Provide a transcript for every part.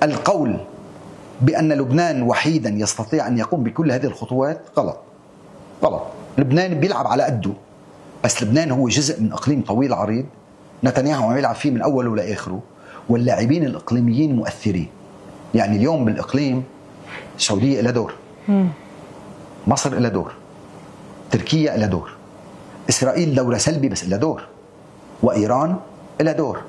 القول بأن لبنان وحيدا يستطيع أن يقوم بكل هذه الخطوات غلط. لبنان بيلعب على قده، بس لبنان هو جزء من إقليم طويل عريض نتنياهو عم يلعب فيه من أوله لآخره، واللاعبين الإقليميين مؤثرين. يعني اليوم بالإقليم السعودية إلى دور، مصر إلى دور، تركيا إلى دور، إسرائيل دورة سلبي بس إلى دور، وإيران إلى دور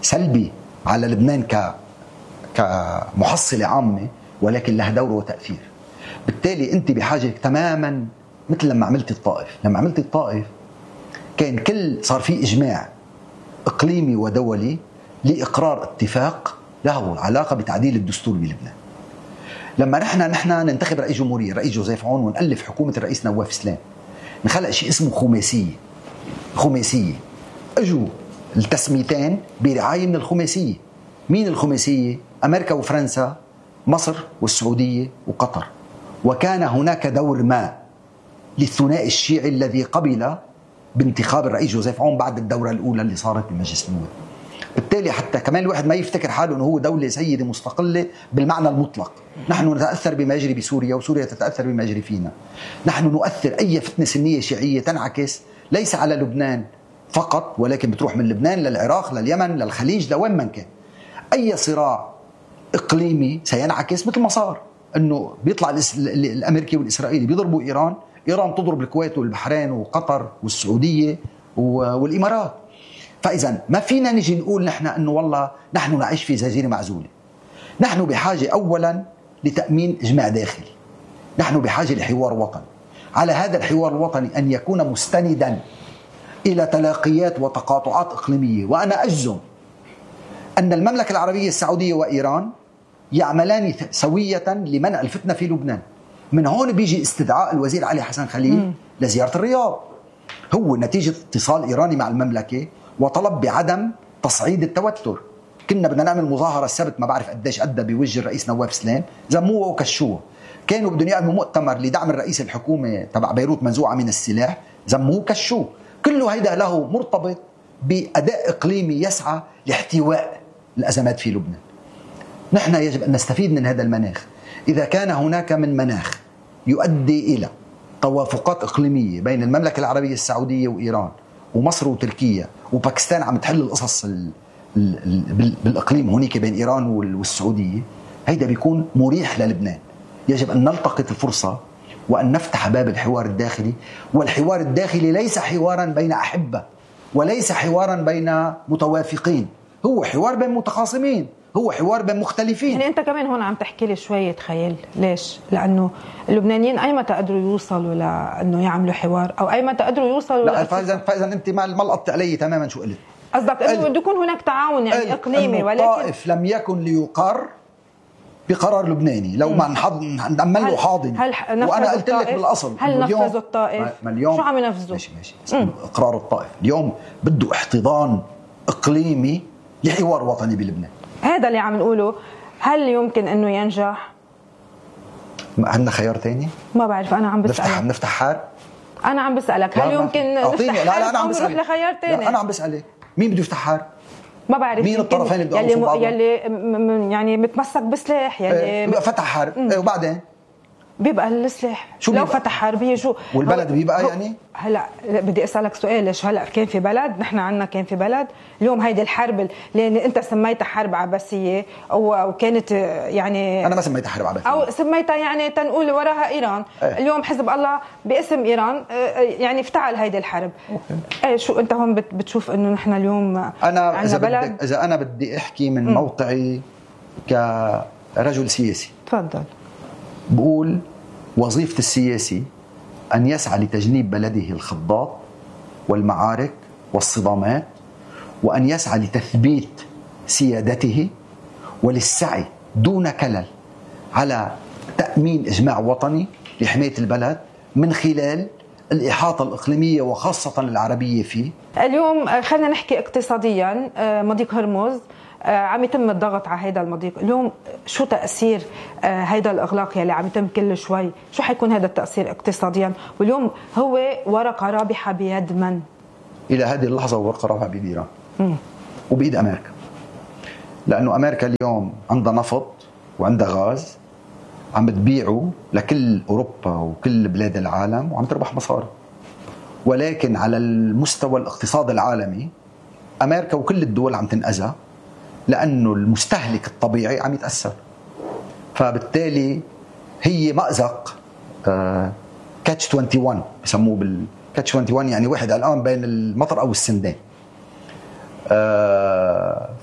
سلبي على لبنان كمحصلة عامة، ولكن لها دور وتأثير. بالتالي أنت بحاجة تماما مثل لما عملت الطائف كان صار في إجماع إقليمي ودولي لإقرار اتفاق له علاقة بتعديل الدستور بلبنان. لما نحن ننتخب رئيس جمهورية، رئيس جوزيف عون، ونألف حكومة الرئيس نواف سلام، نخلق شيء اسمه خماسية. اجوا التسميتين برعاية من الخماسية. مين الخماسية؟ أمريكا وفرنسا، مصر والسعودية وقطر. وكان هناك دور ما للثنائي الشيعي الذي قبل بانتخاب الرئيس جوزيف عون بعد الدورة الأولى اللي صارت بمجلس النواب. بالتالي حتى كمان الواحد ما يفتكر حاله أنه هو دولة سيدة مستقلة بالمعنى المطلق. نحن نتأثر بما يجري بسوريا، وسوريا تتأثر بما يجري فينا. نحن نؤثر أي فتنة سنية شيعية تنعكس ليس على لبنان فقط، ولكن بتروح من لبنان للعراق، لليمن، للخليج، لوين من كان. أي صراع إقليمي سينعكس مثل ما صار، أنه بيطلع الأمريكي والإسرائيلي بيضربوا إيران تضرب الكويت والبحرين وقطر والسعودية والإمارات. فإذا ما فينا نجي نقول نحن أنه والله نحن نعيش في جزيرة معزولة. نحن بحاجة أولا لتأمين إجماع داخلي، نحن بحاجة لحوار وطني. على هذا الحوار الوطني أن يكون مستندا إلى تلاقيات وتقاطعات إقليمية. وأنا أجزم أن المملكة العربية السعودية وإيران يعملان سوية لمنع الفتنة في لبنان. من هون بيجي استدعاء الوزير علي حسن خليل لزيارة الرياض، هو نتيجة اتصال إيراني مع المملكة وطلب بعدم تصعيد التوتر. كنا بدنا نعمل مظاهرة السبت، ما بعرف قديش أدى بوجه الرئيس نواف سلام، زموه وكشوه. كانوا بدهم يعملوا مؤتمر لدعم الرئيس الحكومة تبع بيروت منزوعة من السلاح، زموه وكشوه. كله هيدا له مرتبط بأداء إقليمي يسعى لاحتواء الأزمات في لبنان. نحن يجب أن نستفيد من هذا المناخ. إذا كان هناك من مناخ يؤدي إلى توافقات إقليمية بين المملكة العربية السعودية وإيران ومصر وتركيا وباكستان عم تحل القصص بالإقليم هناك بين إيران والسعودية، هيدا بيكون مريح للبنان. يجب أن نلتقط الفرصة وأن نفتح باب الحوار الداخلي. والحوار الداخلي ليس حوارا بين أحبة، وليس حوارا بين متوافقين، هو حوار بين متخاصمين، هو حوار بين مختلفين. يعني أنت كمان هون عم تحكي لي شوية خيال. ليش؟ لأنه اللبنانيين أي متى قدروا يوصلوا لأنه يعملوا حوار، أو أي متى قدروا يوصلوا لا فإذا أنت ما لقطت علي تماما شو قلت. قصدك أنه بده يكون هناك تعاون يعني إقليمي، ولكن الطائف لم يكن ليقر بقرار لبناني لو ما نعمل له حاضن. وأنا قلت لك بالأصل هل نفذوا الطائف؟ شو عم ينفذوا؟ ماشي. إقرار الطائف اليوم بده احتضان إقليمي لحوار وطني بلبنان. هذا اللي عم نقوله. هل يمكن أنه ينجح؟ عندنا خيار تاني؟ ما بعرف، أنا عم بسألك. نفتح حرب؟ أنا عم بسألك هل يمكن نفتح حرب أو نروح لخيار تاني؟ أنا عم بسألك مين بده يفتح حرب؟ ما بعرف مين الطرفين اللي بدهم يوقفوا بعضهم؟ يلي يعني متمسك بسلاح، يلي فتح حرب وبعدين بيبقى السلاح. لو فتح حرب هي شو؟ والبلد بيبقى يعني هلا بدي اسالك سؤال. ليش هلا كان في بلد، نحن عندنا كان في بلد اليوم هيدي الحرب اللي انت سميتها حرب عباسيه وكانت يعني انا ما سميتها حرب عباسيه او سميتها يعني تنقول وراها ايران. اليوم حزب الله باسم ايران يعني افتعل هيدي الحرب. شو انت هون بتشوف انه نحن اليوم انا اذا انا بدي احكي من موقعي كرجل سياسي، تفضل. بقول وظيفة السياسي أن يسعى لتجنيب بلده الخضات والمعارك والصدامات، وأن يسعى لتثبيت سيادته، وللسعي دون كلل على تأمين إجماع وطني لحماية البلد من خلال الإحاطة الإقليمية وخاصة العربية فيه. اليوم خلينا نحكي اقتصاديا. مضيق هرمز عم يتم الضغط على هيدا المضيق. اليوم شو تأثير هيدا الإغلاق يلي عم يتم كل شوي؟ شو حيكون هذا التأثير اقتصاديا؟ واليوم هو ورقة رابحة بيد من؟ إلى هذه اللحظة ورقة رابحة بيد إيران وبيد أمريكا. لأنه أمريكا اليوم عندها نفط وعندها غاز عم تبيعه لكل أوروبا وكل بلاد العالم وعم تربح مصاري. ولكن على المستوى الاقتصاد العالمي أمريكا وكل الدول عم تنأذى لأنه المستهلك الطبيعي عم يتأثر. فبالتالي هي مأزق كاتش 21 بسموه بالكاتش 21، يعني واحد الآن بين المطر أو السندان.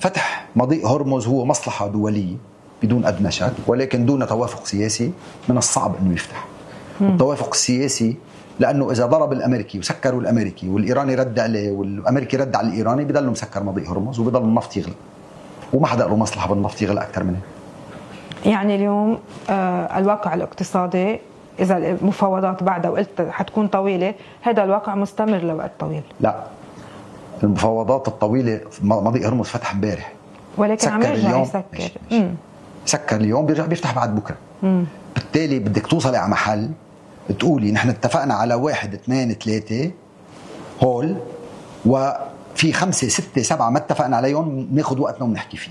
فتح مضيق هرمز هو مصلحة دولية بدون أدنى شك، ولكن دون توافق سياسي من الصعب أنه يفتح. التوافق السياسي لأنه إذا ضرب الأمريكي وسكروا الأمريكي والإيراني رد عليه والأمريكي رد على الإيراني بيضلوا مسكر مضيق هرمز وبيضل النفط يغلى، وما حدا له مصلحة بالنفط يغلى أكثر منه. يعني اليوم الواقع الاقتصادي إذا المفاوضات بعدها وقلت حتكون طويلة، هذا الواقع مستمر لوقت طويل. لا، المفاوضات الطويلة مضيق هرمز فتح امبارح، ولكن عم يرجع يسكر. سكر اليوم بيرجع بيفتح بعد بكرة. بالتالي بدك توصلي على محل تقولي نحن اتفقنا على 1 2 3 هول، وفي 5 6 7 ما اتفقنا عليهم، ناخد وقتنا ونحكي فيه.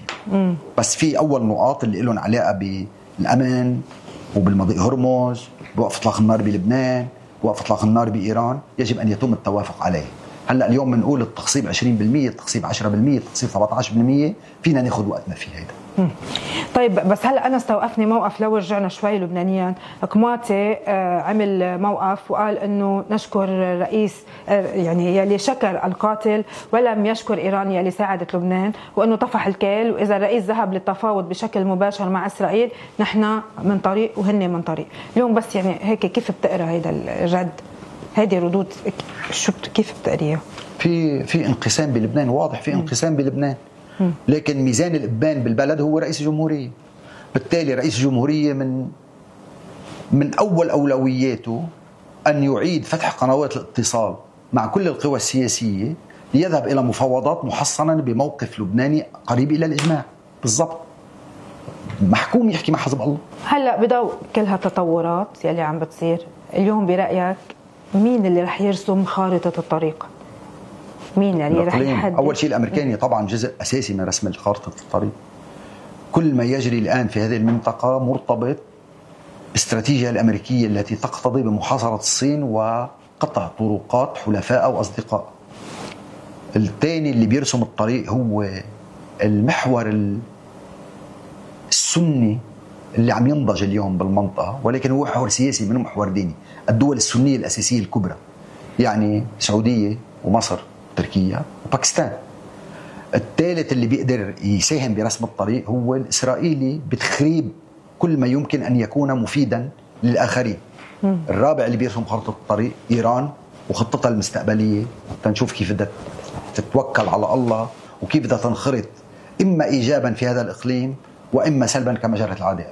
بس في أول نقاط اللي لهم علاقة بالأمن وبالمضيق هرمز، بوقف إطلاق النار بلبنان، بوقف إطلاق النار بإيران، يجب أن يتم التوافق عليه. هلأ اليوم بنقول التخصيب 20%، التخصيب 10%، التخصيب 17%، فينا ناخد وقتنا في هيدا. طيب بس هلا انا استوقفني موقف، لو رجعنا شوي لبنانيا، كماتي عمل موقف وقال انه نشكر الرئيس يعني يلي شكر القاتل ولم يشكر ايران يلي ساعدت لبنان، وانه طفح الكيل، واذا الرئيس ذهب للتفاوض بشكل مباشر مع اسرائيل نحن من طريق وهن من طريق. اليوم بس يعني هيك كيف بتقرا هيدا الرد، هيدي ردود شو كيف بتقريها؟ في انقسام بلبنان، واضح في انقسام بلبنان، لكن ميزان الإبان بالبلد هو رئيس الجمهورية. بالتالي رئيس الجمهورية من أول أولوياته أن يعيد فتح قنوات الاتصال مع كل القوى السياسية ليذهب إلى مفاوضات محصنة بموقف لبناني قريب إلى الإجماع بالضبط، محكوم يحكي مع حزب الله. هلأ بضوء كل هالتطورات يلي عم بتصير اليوم، برأيك مين اللي رح يرسم خارطة الطريق؟ مين يعني رح يحدد؟ أول شيء الأمريكاني طبعا جزء أساسي من رسم خارطة الطريق. كل ما يجري الآن في هذه المنطقة مرتبط بالاستراتيجية الأمريكية التي تقتضي بمحاصرة الصين وقطع طرقات حلفاء أو أصدقاء. الثاني اللي بيرسم الطريق هو المحور السني اللي عم ينضج اليوم بالمنطقة، ولكن هو محور سياسي منه محور ديني. الدول السنية الأساسية الكبرى يعني السعودية ومصر تركيا وباكستان. الثالث اللي بيقدر يساهم برسم الطريق هو الإسرائيلي بتخريب كل ما يمكن أن يكون مفيدا للآخرين. الرابع اللي بيرسم خطة الطريق إيران وخطتها المستقبلية، تنشوف كيف بدها تتوكل على الله وكيف بدها تنخرط إما إيجابا في هذا الإقليم وإما سلبا كما جرت العادة.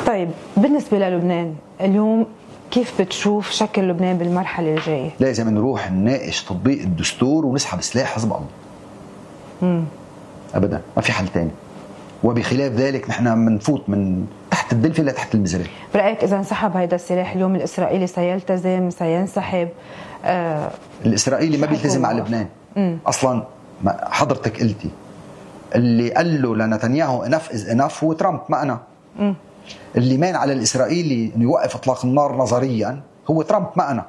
طيب بالنسبة للبنان اليوم كيف بتشوف شكل لبنان بالمرحلة الجاية؟ لازم نروح نناقش تطبيق الدستور ونسحب سلاح حزب الله. أبدا ما في حل تاني، وبخلاف ذلك نحن منفوت من تحت الدلفة لتحت المزرعة. برأيك إذا انسحب هيدا السلاح اليوم الإسرائيلي سيلتزم سينسحب؟ الإسرائيلي ما بيلتزم على لبنان أصلا. حضرتك قلتي اللي قال له لنتنياهو enough is enough هو ترامب ما أنا. اللي مان على الإسرائيلي أنه يوقف إطلاق النار نظريا هو ترامب ما أنا.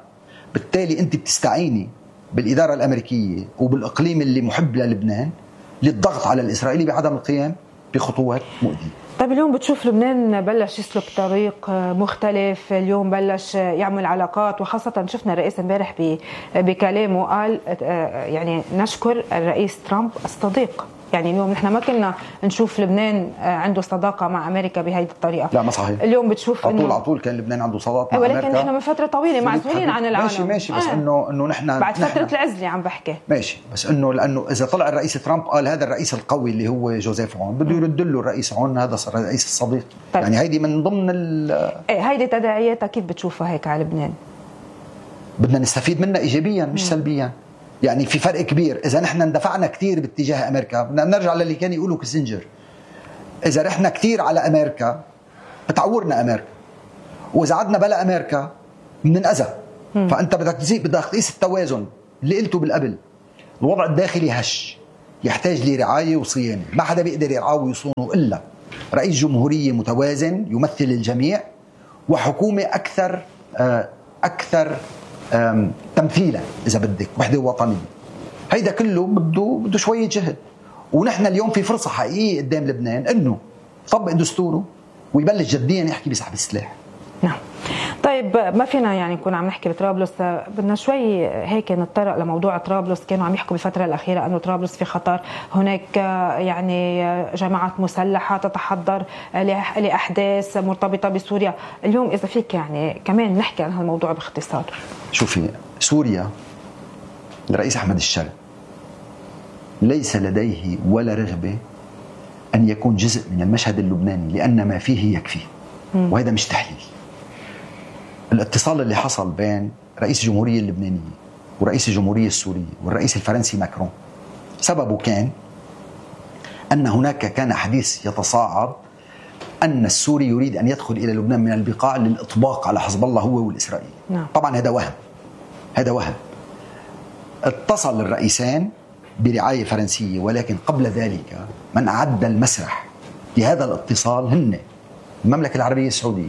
بالتالي أنت بتستعيني بالإدارة الأمريكية وبالإقليم اللي محب للبنان للضغط على الإسرائيلي بعدم القيام بخطوات مؤذية. طيب اليوم بتشوف لبنان بلش يسلك طريق مختلف، اليوم بلش يعمل علاقات، وخاصة شفنا الرئيس امبارح بكلامه قال يعني نشكر الرئيس ترامب الصديق. يعني اليوم نحن ما كنا نشوف لبنان عنده صداقة مع أمريكا بهذه الطريقة. لا ما صحيح. اليوم بتشوف على طول كان لبنان عنده صداقة مع أمريكا، ولكن نحن من فترة طويلة معزولين عن العالم. ماشي بس إنه نحن بعد فترة العزلة عم بحكي. ماشي بس لأنه إذا طلع الرئيس ترامب قال هذا الرئيس القوي اللي هو جوزيف عون بده يرد له الرئيس عون هذا الرئيس الصديق. طيب. يعني هيدي من ضمن هيدي تداعياتها كيف بتشوفها هيك على لبنان؟ بدنا نستفيد منها إيجابيا مش سلبيا. يعني في فرق كبير. إذا نحن اندفعنا كتير باتجاه أمريكا بدنا نرجع للي كان يقولوا كيسنجر، إذا رحنا كتير على أمريكا بتعورنا أمريكا، وإذا عدنا بلا أمريكا بننأذى. فأنت بدك تقيس التوازن اللي قلته بالقبل. الوضع الداخلي هش، يحتاج لرعاية وصيانة، ما حدا بيقدر يرعاه ويصونه إلا رئيس جمهورية متوازن يمثل الجميع، وحكومة أكثر تمثيلا إذا بدك، وحدة وطنية. هيدا كله بده شوية جهد، ونحن اليوم في فرصة حقيقية قدام لبنان إنه يطبق دستوره ويبلش جديا يحكي بسحب السلاح. نعم. طيب ما فينا يعني نكون عم نحكي بطرابلس، بدنا شوي هيك نتطرق لموضوع طرابلس. كانوا عم يحكوا بالفترة الأخيرة أنه طرابلس في خطر، هناك يعني جماعات مسلحة تتحضر لأحداث مرتبطة بسوريا. اليوم إذا فيك يعني كمان نحكي عن هالموضوع باختصار. شوفي، سوريا الرئيس أحمد الشرع ليس لديه ولا رغبة أن يكون جزء من المشهد اللبناني، لأن ما فيه يكفي، وهذا مش تحليل. الاتصال اللي حصل بين رئيس الجمهورية اللبنانية ورئيس الجمهورية السورية والرئيس الفرنسي ماكرون سببه كان أن هناك كان حديث يتصاعد أن السوري يريد أن يدخل إلى لبنان من البقاع للإطباق على حزب الله هو والإسرائيلي. طبعا هذا وهم. اتصل الرئيسان برعاية فرنسية، ولكن قبل ذلك من أعد المسرح لهذا الاتصال هن المملكة العربية السعودية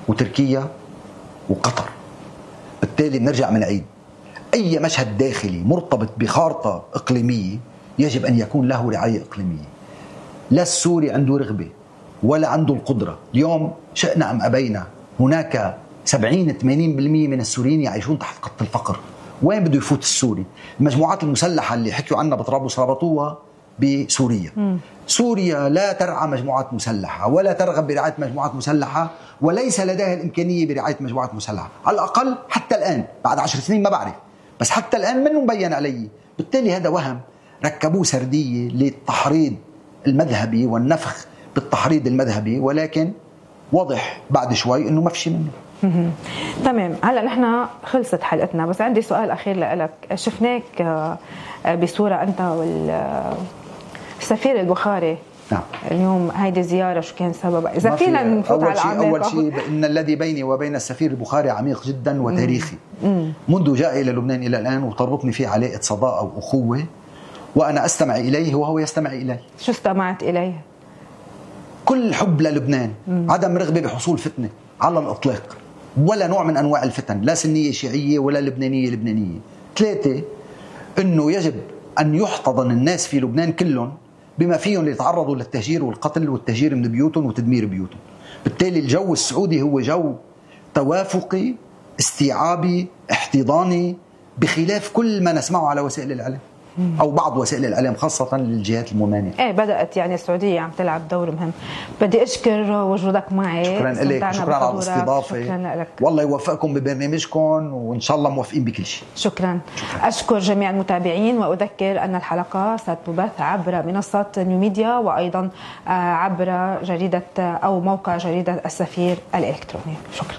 وتركيا وقطر. بالتالي بنرجع بنعيد أي مشهد داخلي مرتبط بخارطة إقليمية يجب أن يكون له رعاية إقليمية. لا السوري عنده رغبة ولا عنده القدرة. اليوم شئنا أم أبينا هناك 70-80% من السوريين يعيشون تحت خط الفقر. وين بده يفوت السوري؟ المجموعات المسلحة اللي حكيوا عنها بطرابلس ربطوها بسوريا. سوريا لا ترعى مجموعات مسلحة ولا ترغب برعاية مجموعات مسلحة، وليس لديها الإمكانية برعاية مجموعات مسلحة على الأقل حتى الآن. بعد 10 سنين ما بعرف، بس حتى الآن منه مبين علي. بالتالي هذا وهم ركبوه سردية للتحريض المذهبي والنفخ بالتحريض المذهبي، ولكن واضح بعد شوي إنه ما في شيء منه. تمام. هلا نحن خلصت حلقتنا، بس عندي سؤال أخير لك. شفناك بصورة أنت والسفير البخاري. نعم. اليوم هيدي زيارة شو كان سببها؟ إذا فينا نفوت على العميق. أول شيء إن الذي بيني وبين السفير البخاري عميق جدا وتاريخي. منذ جاء إلى لبنان إلى الآن، وتربطني فيه علاقة صداقة وأخوة، وأنا أستمع إليه وهو يستمع إلي. شو استمعت إليه؟ كل حب للبنان، عدم رغبة بحصول فتنة على الإطلاق، ولا نوع من أنواع الفتن، لا سنية شيعية ولا لبنانية. 3، أنه يجب أن يحتضن الناس في لبنان كلهم بما فيهم ليتعرضوا للتهجير والقتل والتهجير من بيوتهم وتدمير بيوتهم. بالتالي الجو السعودي هو جو توافقي استيعابي احتضاني، بخلاف كل ما نسمعه على وسائل الإعلام أو بعض وسائل الإعلام خاصة للجهات الممانعة. بدأت يعني السعودية عم تلعب دور مهم. بدي أشكر وجودك معي. شكرا لك، شكرا على الاستضافة. شكرا لك. والله يوفقكم ببرنامجكم، وإن شاء الله موفقين بكل شيء. شكرا. أشكر جميع المتابعين، وأذكر أن الحلقة ستبث عبر منصات نيو ميديا، وأيضا عبر جريدة أو موقع جريدة السفير الإلكتروني. شكرا.